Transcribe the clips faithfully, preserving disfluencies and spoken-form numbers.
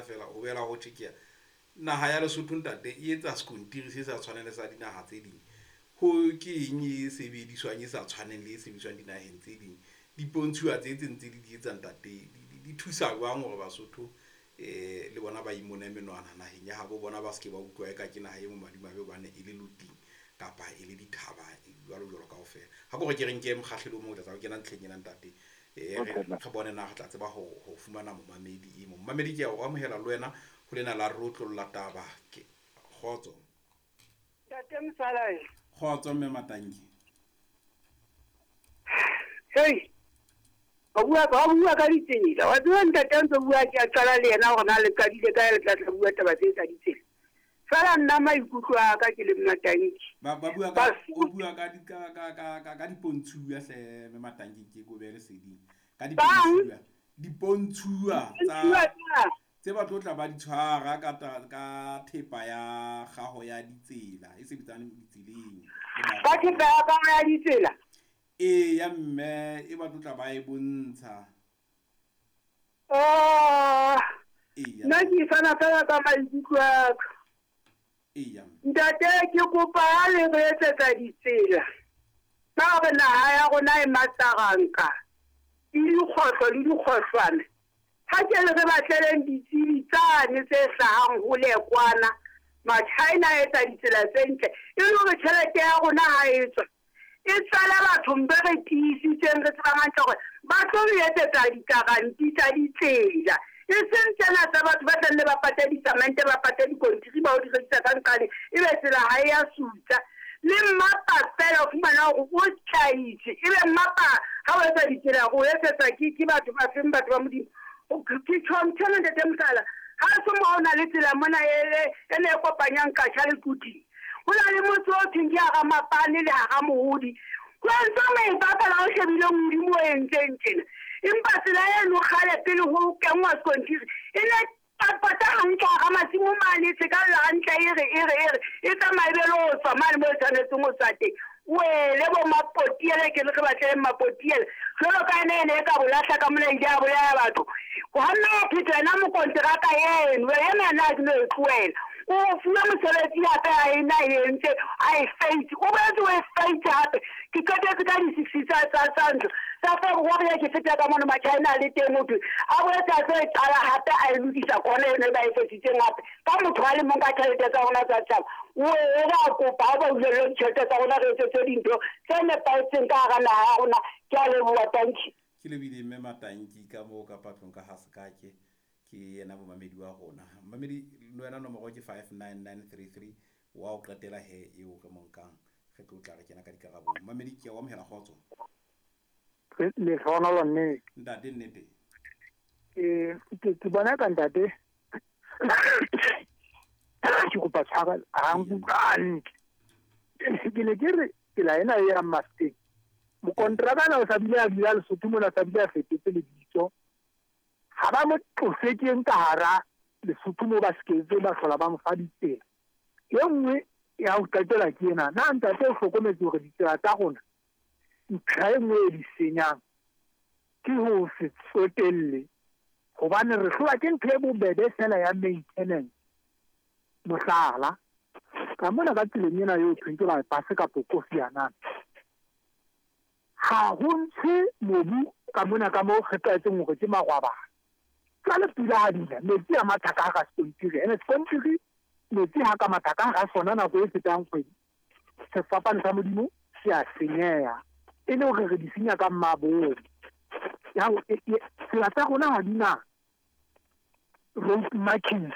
fela o bela ho tjhe ke naha ya Lesotho ntate e etsa sekontiri se sa tshwaneng le sa dinaha tse ding. Ho ke eng e sebediswang e sa tshwaneng le e sebediswang dinaheng tse ding? Dipontshuwa tse tse ntse di di etsa ntate di thusa jwang hore Basotho eh le bona ba imone menwana naheng ya habo bona, ba se ke ba utlwa eka ke naha e mo madimabe hobane e le loting kapa e le dithaba jwalo jwalo kaofela. Ha ko re ke re nke mokgahlelo o mong o tla tla o kena ntlheng ena ntate, eh re re bone na re tla tseba ho ho fumana momamedi e mong. Momamedi ke a o amohela le wena ho lena la rotlolla taba ke kgotso. Ntate Msalae. Kgotso mme Matanki. Hey. Ba bua ba bua ka ditsela. Wa tseba ntate ntse bua ke a qala le yena hore na le qadile ka le tla tla bua taba tse tsa ditsela. Fela nna maikutlo a ka ke le Matanki. Ba ba bua ka o bua ka di ka ka ka ka ka dipontshuwa hle mme Matanki ke go be le seding. Ka dipontshuwa. Dipontshuwa tsa tse ba tlo tla ba di tshwara ka ka thepa ya gago ya ditsela e sebetsang ditseleng. Ka thepa ya gago ya ditsela? E ya mme e ba tlo tla ba e bontsha. Oh. Nna ke fana fela ka maikutlo a ka. Eya. Ntate ke kopa ha le re etsetsa ditsela. Ka hore naha ya rona e matsaranka. Le dikgohlo le dikgohlwana. Ha ke le re batleleng ditsebi tsane tse hlahang hole kwana. Ma-China a etsa ditsela tse ntle. E le hore tjhelete ya rona ha e tswa. E tswala batho mbe re tiisitseng re tsebang hantle hore ba tlo re etsetsa dikaranti tsa ditsela. E seng tsena tsa batho ba tlang le ba pate disamente, ba pate dikontiri, ba o di rekisa ka nqane, ebe tsela ha e ya sutsa. Le mmapa fela o fumana hore o tjhaitse. Ebe mmapa ha o etsa ditsela o etsetsa ke ke batho ba feng, batho ba Modimo. Ke tjho ntho ntate Mosala. Ha se mo ona le tsela mona e e ne kopanyang Katjha le Quthing. Ho na le motse o thweng ke hara Mapane le hara Mohodi. Ho ntse maipapela o shebile Modimo o entseng tjena. Empa tsela eno kgale pele ho kenngwa sekontiri e ne pata hantle hara masimo mane, se ka lla hantle e re e re e re e tsamaye be le ho tswa mane moo e tshwanetseng ho tswa teng. Wele bo Mapotiele ke le re batleleng Mapotiele. Jwalo ka ene ene e ka bolahla ka mona ile ya bolaya batho. Ha nna wa phetha yena mokonteraka eno, ena yena ha ke no e tlohela. O fuwe mosebetsi hape a ena e entse, a e feitse. O boetse o e feitse hape. Ke qetetse ka di-six tsa tsa tsa ntlo. Tsa February ke feta ka mono ma-China a le teng ho thwe. A boetse a tlo e qala hape a e lokisa kona eno e ba e fetsitseng hape. Ka motho a le mong ka tjhelete tsa rona tsa setjhaba. O e re a kopa ha ba hulellwe ditjhelete tsa rona re etsetse dintho tse nepahetseng ka hara naha ya rona. Ke a leboha, tanki. Ke lebile mme Matanki ka moo ka patlong ka ha sekake ke yena momamedi wa rona. Momamedi le wena nomoro ke five nine nine three three wa o qetela he eo re mo nkang re tlo tla re kena ka dikarabong. Momamedi ke a o amohela kgotso. Lehlohonolo nnete. Ntate nnete. Eh ke ke bona ka ntate. Ke kopa tshwarelo ha nkutlwa hantle. Ke ne ke re tsela ena e yang Mafeteng. Mokonteraka na o sa bile a dula Lesotho mona, sa bile a fetotse lebitso. Ha ba mo tlose ke eng ka hara Lesotho moo ba seketse ba hlola ba mo fa ditsela. E nngwe ya ho qetela ke ena. Na ntate o hlokometse hore ditsela tsa rona ntlha e nngwe e di senyang ke ho se tsotelle, hobane re hlolwa ke ntho e bobebe fela ya maintenance. Mohlala, ka mona ka tseleng ena eo thweng ke bypass kapa Kofi Annan, ha ho ntshe mobu ka mona ka moo re tlwaetseng hore ke magwabana. Jwale pula ha dina, metsi a matha ka hara sekontiri. Ene sekontiri, metsi ha ka matha ka hara sona nako e fetang kgwedi, sefapano sa Modimo se a senyeha. E le hore re di senya ka mmabomo. Ya ho, e, e, tsela tsa rona ha di na road markings.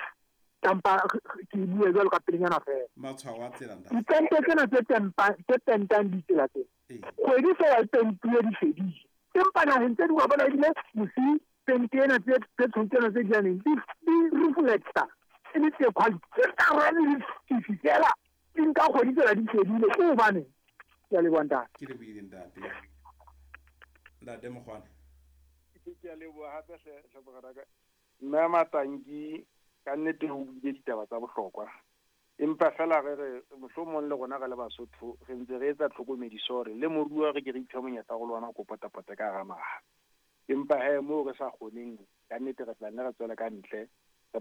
Kampa ke bue jwalo ka pelenyana fela. Matshwao a tsela ntate. Ditente tsena tse tempa, tse pentang ditsela tsena. Ee. Kgwedi fela e pentuwe di fedile. Empa naheng tse ding wa bona ebile bosiu pente ena tse, tse tshweu tsena tse dianeng di, di reflector. E le tse quality. Tse tsa le sefifi fela. Di nka kgwedi tsela di fedile. Ke hobaneng? Ke a leboha ntate. Ke lebohile ntate. Ntate Mokgwane. Ke a leboha hape hle, hle morenaka. Mme Matanki ka nnete ho buile ditaba tsa bohlokwa. Empa fela re re mohlomong le rona re le Basotho re ntse re etsa tlhokomediso hore le moruo re ke re iphe monyetla go lwana go potapota ka hara naha. Empa he moo re sa kgoneng ka nnete re tla nne re tswele ka ntle re ba